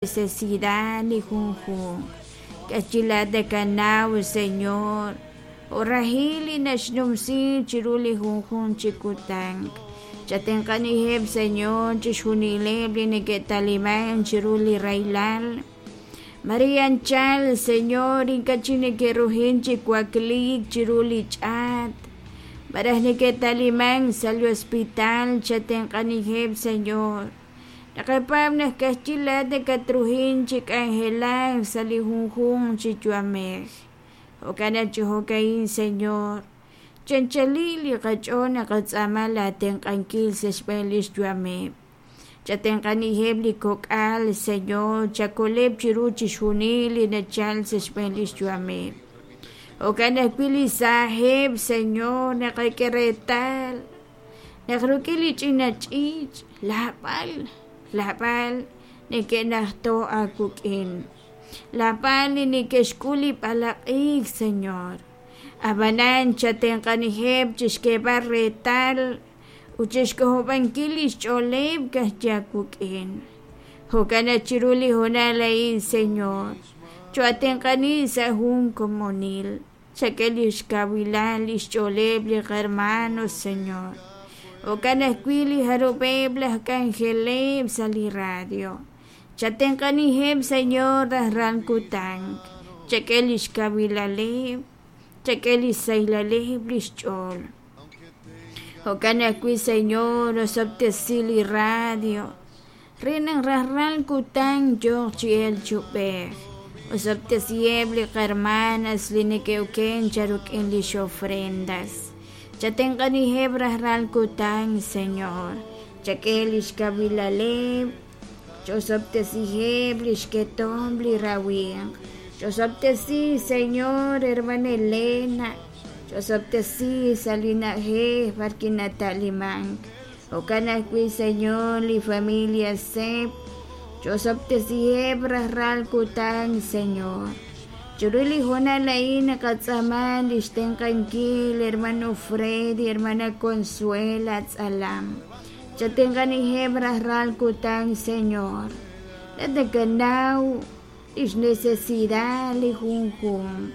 Necesidad li junjunq. K'achi laa'at nakanaw, Señor, jo' rahil li naxnumsi chiru li junjunq chi kutan. Chatenq'aniheb', Señor, chixjunileb' li neke'taliman chiru li rahilal. Mare anchal, Señor, ink'a' chik neke'ruhin chi wakliik chiru li ch'aat, malaj neke'taliman sa' li hospital. Chatenq'aniheb', Señor. Naqapaab' naq ka'ajwi' laa'at nakatruhin chi k'anjelak sa' li junjunq chi yu'amej. Jo'kan naq chi jo'ka'in, Señor, chi anchalil li qach'ool naqatz'aama laa tenq'ankil sa' xb'een lix yu'ameb'. Chatenq'aniheb' li kok'al, Señor, chakoleb' chiru chixjunil li nachal sa' xb'een lix yu'ameb'. Jo'kan ajwi' li saajeb', Señor, naqak'e reetal Naq rik'in li ch'ina ch'iich', laab'al, laab'al neke'najto' aawik'in, laab'al li neke'xk'ul li b'alaq'iik, Señor. A'b'anan chatenq'aniheb' chixk'eeb'al reetal ut chixk'ojob'ankil lix ch'ooleb' ka'ajwi' aawik'in. Jo'kan naq chiru li hoonal a'in, Señor, choo'atenq'ani sa' jun komonil. Chak'e lix kawilal lix ch'ooleb' li qahermanos, Señor. Jo'kan ajwi' li jarub'eb' laj k'anjeleb' sa' li radio. Chatenq'aniheb', Señor, rajlal kutan. Chak'e lix kawilaleb', chak'e lix sahilaleb' lix ch'ool. Jo'kan ajwi', Señor, osob'tesi li radio. Re naq rajlal kutan yooq chi elk chi ub'ej. Osob'tesiheb' li qahermanas li neke'oken charuk'in lix ofrendas. Chatenq'aniheb' rajlal kutan, Señor. Chak'e lix kawilaleb', ch'osob'tesiheb' lix ketomq li rawimq. Ch'osob'tesi, Señor, hermana Elena. Ch'osob'tesi sa' li na'ajej b'ar wi' nata'limank. Jo'kan ajwi', Señor, li familia Sep, ch'osob'tesiheb' rajlal kutan, Señor. Chiru li hoonal a'in naqatz'aama lix tenq'ankil hermano Freddy, hermana Consuela Tz'alam. Chatenq'aniheb' rajlal kutan, Señor. Laa'at nakanaw lix necesidad li junjunq.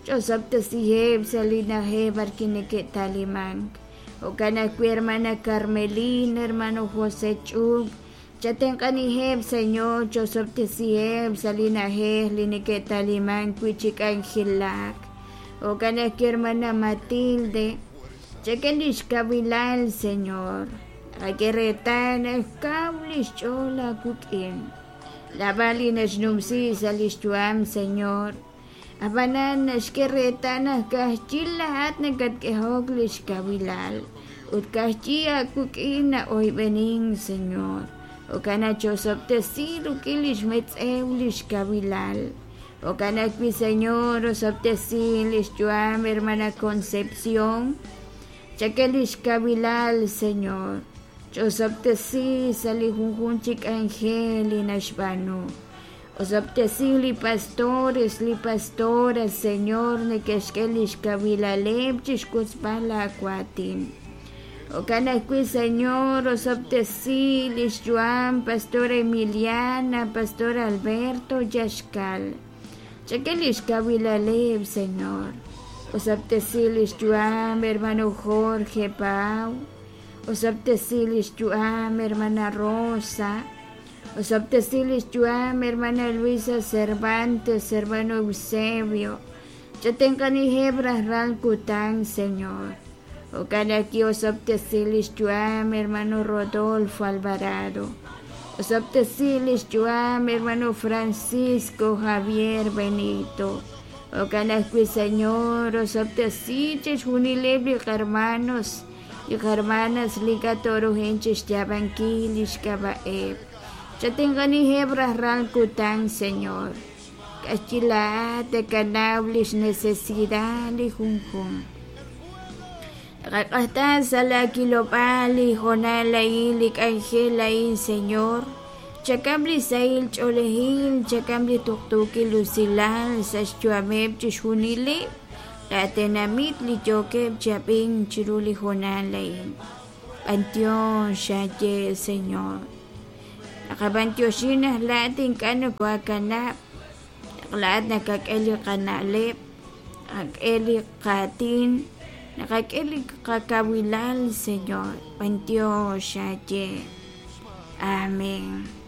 Ch'osob'tesiheb' sa' li na'ajej b'arwi' neke'ta'limank. Jo'kan ajwi' hermana Carmelina, hermano José Ch'ub, chatenq'aniheb' Señor, ch'osob'tesiheb' sa' li na'ajej li neke'ta'limank wi' chi k'anjelak. Jo'kan ajwi' hermana Matilde, chak'e lix kawilal, Señor. Naqak'e reetal naq kaw lix ch'ool aawik'in. Naab'al li naxnumsi sa' lix yu'am, Señor. Ab'anan naxk'e reetal naq ka'ajwi' laa'at nakatk'ehok li xkawilal ut ka'ajwi' aawik'in na'oyb'enink, Señor. Jo'kan naq chosob'tesi rik'in li xmetz'ew li xkawilal. Jo'kan ajwi', Señor, osob'tesi li xyu'am hermana Concepción. Chak'e li xkawilal, Señor. Ch'osob'tesi sa' li junjunq chi k'anjel li naxb'aanu. Osob'tesi li pastores, li pastoras, Señor, neke'xk'e lix kawilaleb' chixwotzb'al laa waatin. Jo'kan ajwi', Señor, osob'tesi lix yu'am Pastora Emiliana, Pastor Alberto Yaxcal. Chak'e lix kawilaleb', Señor. Osob'tesi lix yu'am hermano Jorge Pau. Osob'tesi lix yu'am hermana Rosa. Osob'tesi lix yu'am hermana Luisa Cervantes, hermano Eusebio. Chatenq'aniheb' rajlal kutan, Señor. Jo'kan ajwi' osob'tesi lix yu'am hermano Rodolfo Alvarado. Osob'tesi lix yu'am hermano Francisco Javier Benito. Jo'kan ajwi', Señor, osob'tesi chixjunileb' li qahermanos li qahermanas li ink'a' tooruhin chixyaab'ankil lix k'ab'a'eb'. Chatenq'aniheb' rajlal kutan, Señor. K'axyi laa'at takanaw lix necesidad li junjunq. Naqaq'ajta sa' laa kilob'aal li hoonal a'in, li k'anjel a'in, Señor. Chak'am li sahil ch'oolejil, chak'am li tuqtuukil usilal sa' xyu'ameb' chixjunileb' laa tenamit li yookeb' chi ab'ink chiru li hoonal a'in. B'antiox xaye, Señor. Naqab'antioxi naq laa'at ink'a' nokooakanab', naq laa'at nakak'e li qana'leb', nakak'e li qaatin, nakak'e li qakawilal, Señor. B'antiox aawe. Amén.